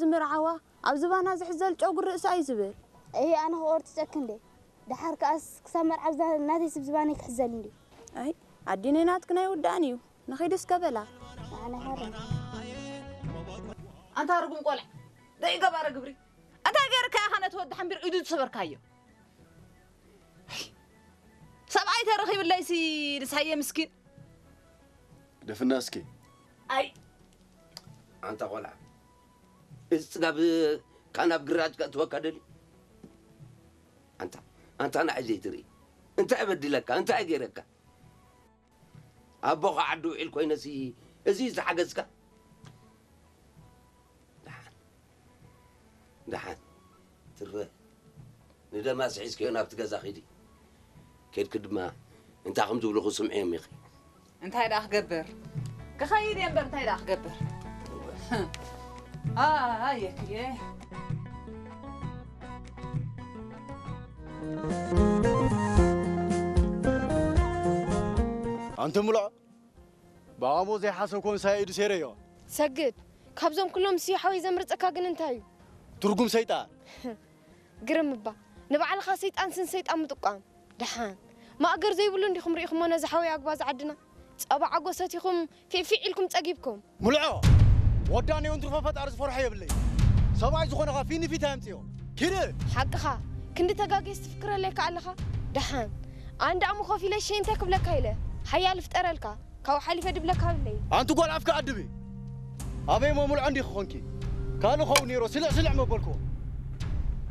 ዝምርዓዋ ኣብ ዝባና ዝሕዘል ጨጉሪ ርእሳ እዩ ዝብል። እሂ፣ ኣነ ክቆርጽ ጨክ እንዴ? ደሓር ከኣስ ክሳብ መርዓ ብዛ ናተይ ስብ ዝባነይ ክሕዘል እንዴ? ኣይ፣ ኣዲነይ ናትክን ኣይውዳእን እዩ። ንኺድ እስከ በላ። ኣነ ሃረ። ኣንታ ርጉም ቆልዓ፣ ደይ ገባረ ግብሪ። እንታይ ገይርካ ኢኻ ነቲ ወዲ ሓንቢር ኢዱ ዝሰበርካዮ? ሰብኣይ ተረኺብለይሲ ንሳየ ምስኪን። ደፍና እስኪ። ኣይ፣ ኣንታ ቆልዓ፣ እዚ ጽጋብ ካብ ናብ ግራጭ ከእትወካ ደልዩ? ኣንታ፣ ኣንታ ንዓይ ዘይትርኢ? እንታይ በዲለካ? እንታይ ገይረካ? ኣቦኻ ዓዲ ውዒል ኮይነሲ፣ እዚ እዩ ዝሓገዝካ? ደሓን፣ ደሓን፣ ትረ ንደማስ ሒዝክዮ ናብቲ ገዛ ኺዲ። ኬድኪ ድማ እንታይ ከም ዝብሉኹ ስምዕዮም ኢኺ። እንታይ ደኣ ክገብር? ክኸይድ እየ እምበር እንታይ ደኣ ክገብር? ኣየ ክየ። ኣንቲ ምልዖ፣ ብኣሞ ዘይሓሰብኮ ንሳይ ኢዱ ሴረዮ። ሰግድ፣ ካብዞም ኩሎም ንስዮ ሓወይ ዘምርጸካ ግን እንታይ እዩ? ትርጉም ሰይጣን። ግርም እባ፣ ንባዕልኻ ሰይጣን ስን ሰይጣን ምጥቋም። ደሓን፣ ማእገር ዘይብሉ እንዲኹም ርኢኹሞ ነዚ ሓወይ ኣግባዝ ዓድና? ጸባ ዓጎ ሰቲኹም ፊዕፊዕ ኢልኩም ጸጊብኩም። ምልዖ፣ ወዳኔውን ትርፎ ፈጣሪ ዝፈርሖ የብለይ። ሰብኣይ ዝኾነኻ ፊት ንፊት ኣምጽዮ። ኪድ! ሓቅኻ፣ ክንዲ ተጋግየስ ትፍክረለይ ከኣ ኣለኻ? ደሓን፣ ኣንዳ እሞ ኮፍ ኢለ ሸይ እንታይ ክብለካ ኢለ? ሓያል ይፍጠረልካ፣ ካብኡ ሓሊፈ ድብለካ የብለይ። ኣንቲ ጓል ኣፍካ ኣድቢ። ኣበይ እሞ ምልዖ እንዲኺ ኾንኪ? ካልእ ኸውን ነይሮ ስልዕ ስልዕ መበልክዎ።